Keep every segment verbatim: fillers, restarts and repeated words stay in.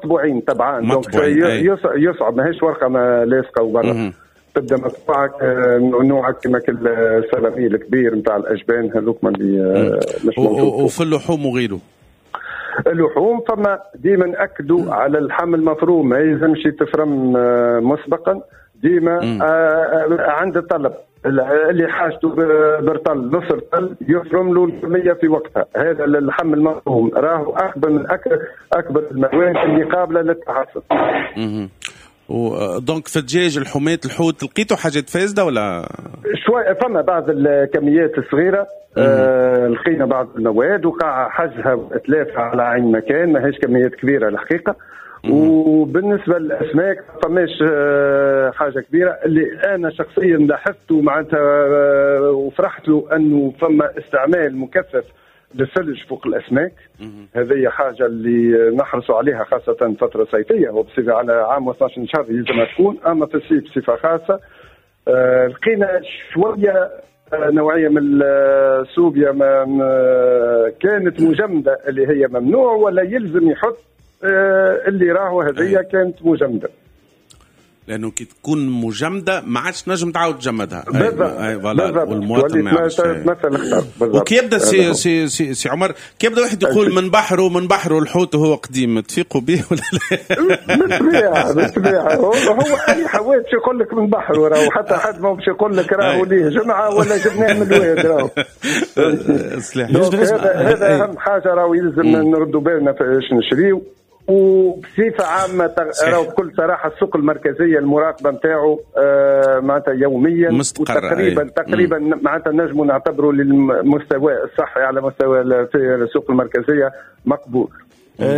مطبوعين طبعا، donc يصعب، ماهيش ورقة ما لاصقه وبرا تبدا مطبوعة نوعك كما السلامي الكبير نتاع الاجبان هذوك اللي مش موجود. وفي اللحوم وغيره، اللحوم فما ديما ناكدوا على اللحم المفروم ما يلزمش يتفرم مسبقا، ديما آه عند الطلب اللي حاجته برطل نص رطل يفرم له الكمية في وقتها. هذا اللحم المفروم راهو اكبر من اكبر اكبر المواد اللي قابله للتحسن. donc في الدجاج، الحمات، الحوت، لقيتوا حاجات فاسدة ولا؟ شوي فما بعض الكميات الصغيرة آه لقينا بعض المواد وقع حجزها واتلافها على عين مكان، ماهيش كميات كبيرة الحقيقة. وبالنسبة للاسماك فماش حاجة كبيرة. اللي انا شخصيا لاحظته معناتها وفرحت له انه فما استعمال مكثف للثلج فوق الاسماك. هذه حاجة اللي نحرصوا عليها خاصة فترة صيفية، وبصفه على عام واثناش شهر يلزم تكون، اما في الصيف بصفة خاصة. آه لقينا شوية نوعية من السوبيا ما كانت مجمده اللي هي ممنوع ولا يلزم يحط اللي راهو هذه كانت مجمده، لانه كي تكون مجمده ما عادش نجم تعاود تجمدها. بالضبط، والمواطن ما يعرفش تمثل خطر. وكي يبدا سي سي سي, سي عمر، كي يبدا واحد يقول من بحره من بحره الحوت وهو قديم، تفيقوا به ولا لا؟ بالطبيعة بالطبيعة هو, هو اي حوات يقول لك من بحره راهو، حتى حد ما باش يقول لك راهو ليه جمعه ولا جبناه من الواد راهو. هذا هذا اهم حاجة راهو يلزم نردوا بالنا باش نشريو. وبصفه عامة راهو بكل صراحة السوق المركزية المراقبة نتاعو آه معناتها يوميا وتقريبا تقريبا معناتها نجموا نعتبروا للمستوى الصحي على مستوى في السوق المركزية مقبول.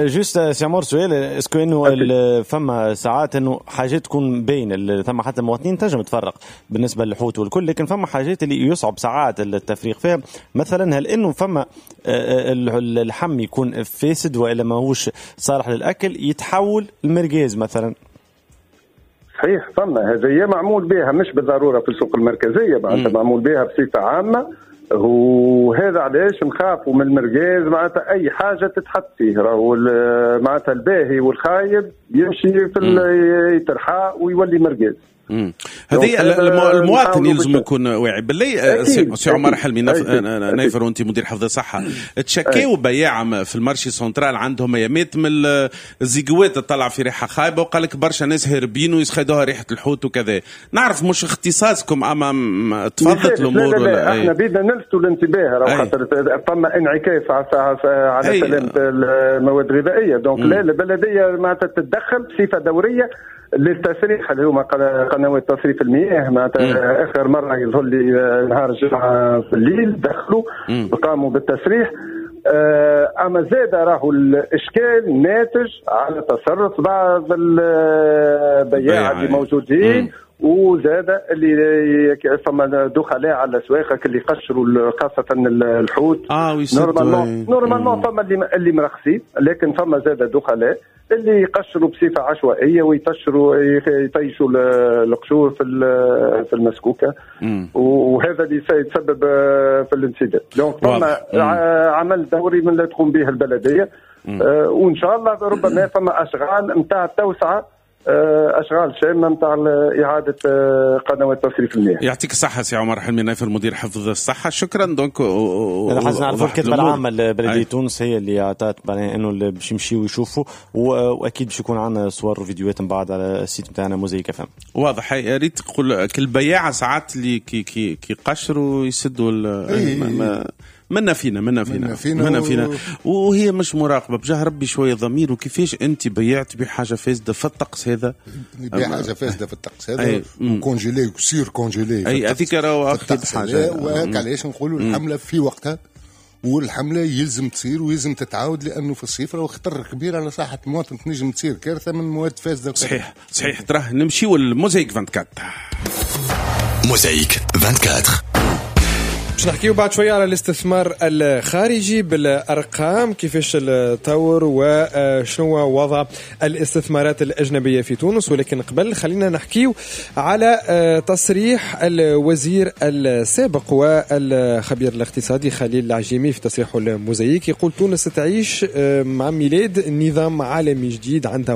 juste سي عمر سؤال، est-ce que انه فما ساعات انه حاجات تكون باينة، ثم حتى المواطنين تنجم تفرق بالنسبة للحوت والكل، لكن فما حاجات اللي يصعب ساعات التفريق فيها. مثلا هل انه فما اللحم يكون فاسد والا ماهوش صالح للاكل يتحول المرقاز مثلا؟ صحيح، فما هذه معمول بها مش بالضرورة في السوق المركزية، معناتها معمول بها بصفة عامة. وهذا علاش نخافوا من المرقاز، معناتها اي حاجة تتحط فيه راهو معناتها الباهي والخايب يمشي في يترحى ويولي مرقاز. هذه المواطن يلزم يكون واعي. بالله سي عمر حلمي نايفر وانت مدير حفظ الصحة، تشكاو بياعه في ال marché central عندهم ايامات من الزيقوات تطلع في ريحه خايبة، وقال لك برشا ناس هاربين ويسخدوها ريحه الحوت وكذا. نعرف مش اختصاصكم اما تفضلت الامور. لا لا لا، احنا بدنا نلفتوا الانتباه راهو خاطر فما انعكاس على سلامه المواد الغذائية. donc لا البلدية معناتها تتدخل بصفة دورية للتسريح اللي هما قنوات تصريف المياه. معناتها اخر مرة يظهر لي نهار الجمعة في الليل دخلوا وقاموا بالتسريح. اما زاد راهو الاشكال ناتج على تصرف بعض البياعة اللي موجودين، وزاد اللي فما دخلاء على الاسواق اللي قشروا خاصة الحوت. اه normalement normalement فما اللي اللي مرخصين، لكن فما زاد دخلاء اللي يقشروا بصفة عشوائية ويطشروا يطيشوا القشور في في المسكوكه، وهذا اللي سيتسبب في الانسداد. donc فما عمل دوري من اللي تقوم به البلدية، وان شاء الله ربما فما اشغال نتاع التوسعة، اشغال شاملة نتاع اعاده قنوات تصريف المياه. يعطيك الصحة سي عمر حلمي نايفر مدير حفظ الصحة، شكرا. donc انا نعرفوا الكتبة العامة لبلديه تونس هي اللي اعطت انه باش يمشيو يشوفوا، واكيد باش يكون عندنا صور وفيديوهات من بعد على ال site نتاعنا موزايك اف ام. واضح. يا ريت تقول كل بياعه ساعات اللي كي كي كي قشروا يسدوا منا فينا منا فينا منا فينا وهي مش مراقبة بجاه ربي شوية ضمير. وكيفاش انت بيعت بحاجة فاسدة في الطقس هذا؟ بيع حاجة فاسدة في الطقس هذا congelé و surcongelé. اي هذيك راهو اخطر حاجة. وهاك علاش نقولوا الحملة في وقتها، والحمله يلزم تصير ويلزم تتعاود، لانه في الصيف راهو خطر كبير على صحة المواطن، تنجم تصير كارثة من مواد فاسدة. صحيح صحيح. تراه نمشيو للموزايك أربعة وعشرين. موزايك أربعة وعشرين. باش نحكيو بعد شوية على الاستثمار الخارجي بالارقام، كيفاش التطور وشنو وضع الاستثمارات الاجنبية في تونس، ولكن قبل خلينا نحكيو على تصريح الوزير السابق والخبير الاقتصادي خليل العجيمي في تصريحه لموزايك، يقول تونس تعيش مع ميلاد نظام عالمي جديد عندها